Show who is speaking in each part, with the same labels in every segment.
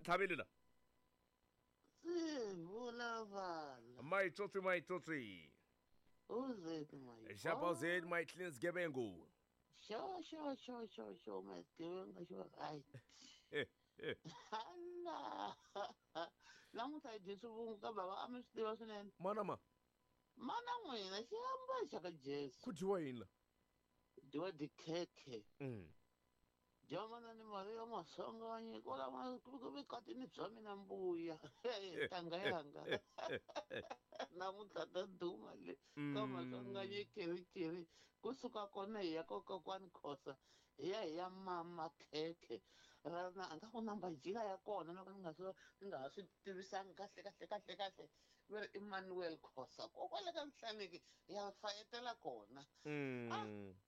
Speaker 1: Ntlhaveli la.
Speaker 2: Se vulavala.
Speaker 1: Maitsotsi maitsotsi.
Speaker 2: Uzet my.
Speaker 1: Xapazet my clean sgebengu.
Speaker 2: Sho sho sho sho sho my sgebengu sho right. Hala. Namuntlha hi dye swivungu ka bava a mi swi tiva swinene.
Speaker 1: Mana ma.
Speaker 2: Mana n'wina xihambano xa ka Jesu.
Speaker 1: Ku dyiwa yini la?
Speaker 2: Dyiwa tikhekhe. Dyiwa manani Maria Maswanganyi kwala vukatini bya mina mbuya. Tanga yanga. Namuntlha ta duma le ka Maswanganyi kirikiri. Kusuka kona hi ya ka kokwani Khosa hi ya hi ya mama khekhe. Rana a nga ku namba jika ya kona loko ni nga swi ni nga ha swi tivisangi kahle kahle kahle kahle. Va ri Emmanuel Khosa kokwale ka Nhlaniki hi ya fayetela kona.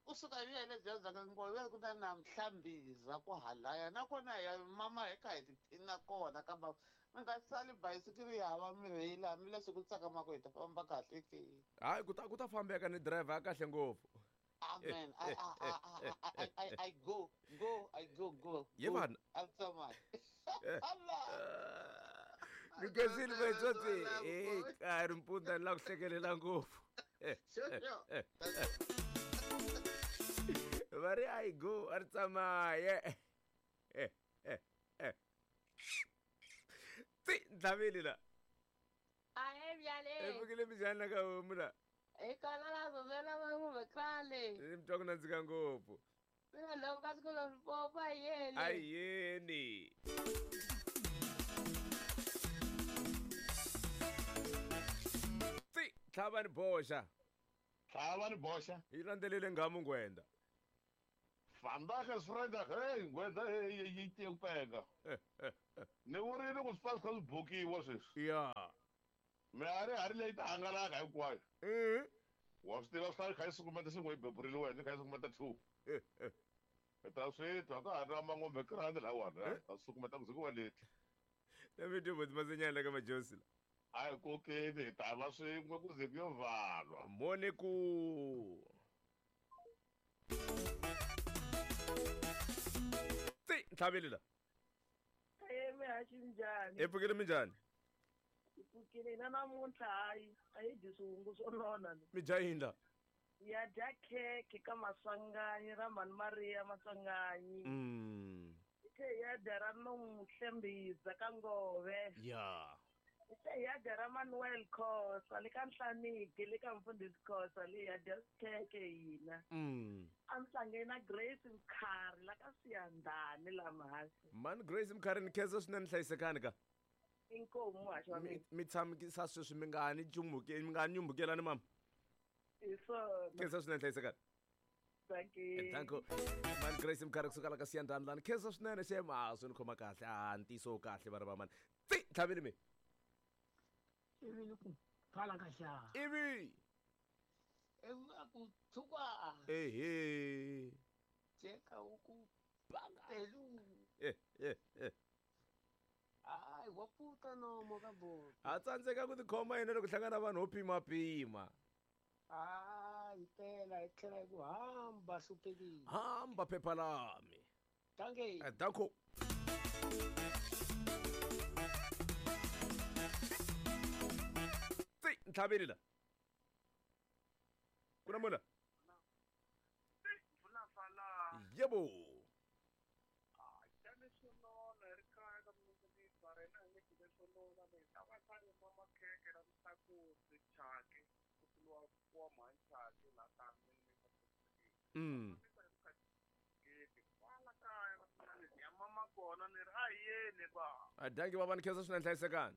Speaker 2: Kusuka hi ya le bya ka Ngove ku ta na Mhlambiza ku halaya nakona hi ya mama hi kha hi tiphina kona kambe mi nga sali bayisikiri ya hava mirhi laha mi leswi ku tsakamaka hi ta famba kahle ke.
Speaker 1: Hayi ku ta fambeka ni driver ya kahle ngopfu.
Speaker 2: Amen. I I I I I I go go I go go.
Speaker 1: Ye vanhu.
Speaker 2: I'm so much. Allah.
Speaker 1: Ni khensile maitsotsi. Ka ri mpfundla ni la ku hlekelela ngopfu.
Speaker 2: Sho sho.
Speaker 1: Va ri I go a ri tsamaye. Tsi ntlhaveli la.
Speaker 3: Ahe bjale.
Speaker 1: E pfukile minjhani la ka homu la?
Speaker 3: Eka la la va n'wi khale.
Speaker 1: Ni mi twa ku nandzika ngopfu.
Speaker 3: Mina loko ka siku leri popa yeni.
Speaker 1: A yeni. Tsi tlhava ni boxa.
Speaker 4: Tlhava ni boxa.
Speaker 1: Yi landzelele nghamu ngwenda.
Speaker 4: Vandag is Vrydag, hey, ngwenda hey, yi tiye ku penga. Ni vurile ku swi fa swi kha swi bukiwa sweswi.
Speaker 1: Ya.
Speaker 4: Mihari hari leyi ta hangalaka hinkwayo. Wa swi tiva swi kha yi sukumeta xin'we yi beburile wena yi kha yi sukumeta 2. Hi ta swi twa ka ha ri na mangombe krandi lawani ta sukumeta ku ze ku va leti.
Speaker 1: Na mi dyo masenyana ka majosi la.
Speaker 4: A hi kokeni hi ta va swin'we ku ze ku yo valwa.
Speaker 1: Mone ku. Tsi ntlhaveli la.
Speaker 5: Mihaxi minjhani?
Speaker 1: Hi pfukile minjhani?
Speaker 5: Hi pfukile hina namuntlha hayi a hi dyi swihungu swo nona ni.
Speaker 1: Mi dya yini la?
Speaker 5: Ya dya khekhe ka Maswanganyi ra Mhani Maria Maswanganyi. Hi tlhe hi ya dya ra Nomuhle Mbhiza ka Ngove.
Speaker 1: Ya.
Speaker 5: Hi tlhe hi ya dya ra Manuel Khosa le ka Nhlaniki le ka Mfundhisi Khosa le hi ya dya khekhe hina. A mi hlangene na Grace Mkhari la ka Siyandhani la Mhasi.
Speaker 1: Mhani Grace Mkhari ni khensa swinene hlayisekani ka.
Speaker 5: Inkomu muhaxi wa mina.
Speaker 1: Mi tshamisa sweswi mi nga ha ni chumuke mi nga ha ni nyumbukelani mama.
Speaker 5: Hi swona.
Speaker 1: Khensa swinene hlayisekani.
Speaker 5: Thank you.
Speaker 1: Thank you. Mhani Grace Mkhari kusuka la ka Siyandhani lani khensa swinene xem a swi ni khoma kahle a ntiyiso kahle va ri va mani. Tsi ntlhaveli mi.
Speaker 6: Ivi ni ku pfala ka xa.
Speaker 1: Ivi.
Speaker 6: Ivi a ku tshuka.
Speaker 1: Ehe.
Speaker 6: Jeka u ku pelu. Hayi wa puta nomo ka bo.
Speaker 1: A tsandzeka ku tikhoma yena loko hlangana vanhu ho pimapima.
Speaker 6: Hayi phela hi tlhela hi ku hamba hluphekile.
Speaker 1: Hamba phepha lami.
Speaker 6: Dankie.
Speaker 1: Danko. Tsi ntlhaveli la. Ku na mona? Yebo. Dankie baba ni khensa swinene hlayisekani.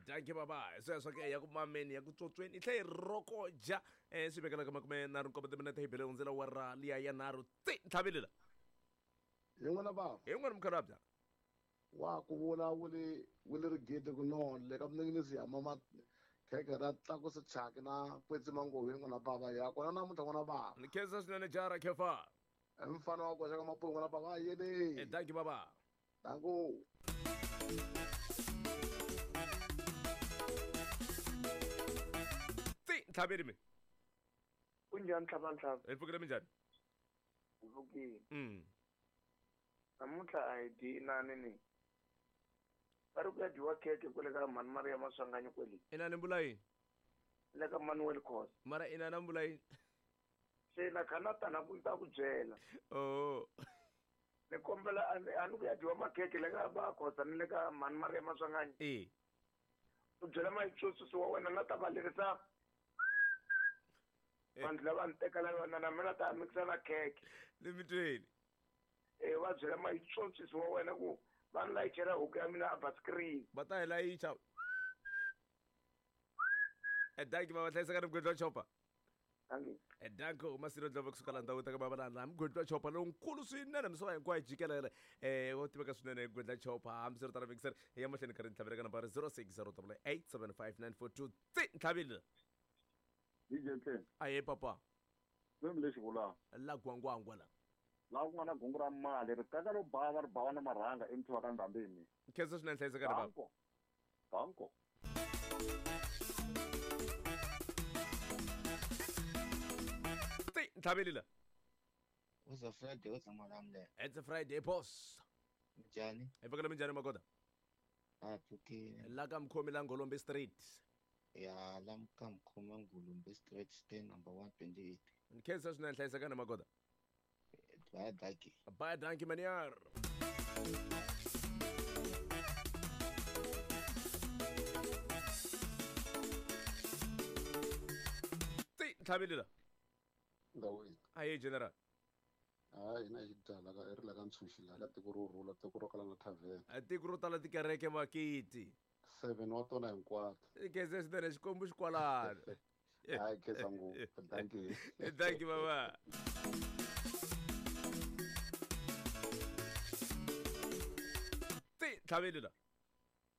Speaker 1: Dankie baba sweswo ke ya ku mameni ya ku tsotsweni i tlhe hi rokoja swi vekela ka makume nharhu nkombo timinete hi bele hundzela wa ra liya ya nharhu tsi ntlhaveli la.
Speaker 7: Hi n'wina bava.
Speaker 1: Hi n'wina mukhalabya.
Speaker 7: Wa ku vula wule wule rigidi ku nona le ka mninginisi ya mama khekhe ra tlakusa chaki na kwetsima nghovi n'wina bava ya kona namuntlha n'wina bava.
Speaker 1: Ni khensa swinene jara khefa.
Speaker 7: Mfana wa koxa ka mapulo n'wina bava yele.
Speaker 1: Dankie baba.
Speaker 7: Danko.
Speaker 1: Tsi ntlhaveli mi.
Speaker 8: Kunjani ntlhava ntlhava?
Speaker 1: Hi pfukile minjhani?
Speaker 8: Hi pfukile. Namuntlha a hi dyi inani ni. Va ri ku ya dyiwa khekhe kwale ka mhani Maria Maswanganyi kwele.
Speaker 1: Inani mbula yini?
Speaker 8: Le ka Manuel Khosa.
Speaker 1: Mara inani mbula yini?
Speaker 8: Se na kha na ta na ku ta ku byela.
Speaker 1: Oh.
Speaker 8: Ni kombela a ni ku ya dyiwa makhekhe le ka ba Khosa ni le ka mhani Maria Maswanganyi.
Speaker 1: Eh.
Speaker 8: U byela mayitsotsi wa wena na ta va lerisa vanhu lava ni tekela yona na mina ta mikisa na khekhe.
Speaker 1: Ni mi tweli.
Speaker 8: Eh va byela mayitsotsi wa wena ku va ni layichela huku ya mina a baskirini.
Speaker 1: Va ta hi layicha. Danki baba hlayiseka ni mugwedli wa chopa.
Speaker 8: Danki.
Speaker 1: Danko Masilo Ndlovu kusuka la ndhawu ta ka baba la mugwedli wa chopa lonkulu swinene misava hinkwayo jikelele wo tiveka swinene gwedla chopa hambiswiritano mixer ya mahlweni karhi ntlhavela ka nambara 0608875942 tsi ntlhavile.
Speaker 9: DJ Ken.
Speaker 1: Aye papa.
Speaker 9: Swimi lexi vulaka.
Speaker 1: La gwangwangwa la.
Speaker 9: Laha ku nga na gungu ra mali ri teka ro bava ri bava na marhanga emuthiwa ka ndhambini.
Speaker 1: Khensa swinene hlayiseka ni baba.
Speaker 9: Danko. Danko.
Speaker 1: Tsi ntlhaveli la.
Speaker 2: It's a Friday, what's Malamle?
Speaker 1: It's a Friday boss.
Speaker 2: Njani?
Speaker 1: Hi pfukela minjhani magoda?
Speaker 2: A pfukile.
Speaker 1: La ka Mkhomi la Ngolombe Street.
Speaker 2: Ya la ka Mkhomi Ngolombe Street, stand number 128.
Speaker 1: Nkhensa swinene hlayiseka ni magoda.
Speaker 2: Bye dankie.
Speaker 1: Bye dankie meneer. Tsi ntlhaveli la.
Speaker 7: Ndawini.
Speaker 1: Aye general.
Speaker 7: Hayi hina hi byala ka ri la ka ntshunxi la ka tiko ro rhula tiko ro kala na tavern.
Speaker 1: A tiko ro tala tikereke makiti.
Speaker 7: 7 wa tona hinkwato.
Speaker 1: Khensa swinene xikwembu xikwalano.
Speaker 7: Hayi khensa ngopfu. Dankie.
Speaker 1: Dankie baba. Tsi ntlhaveli la.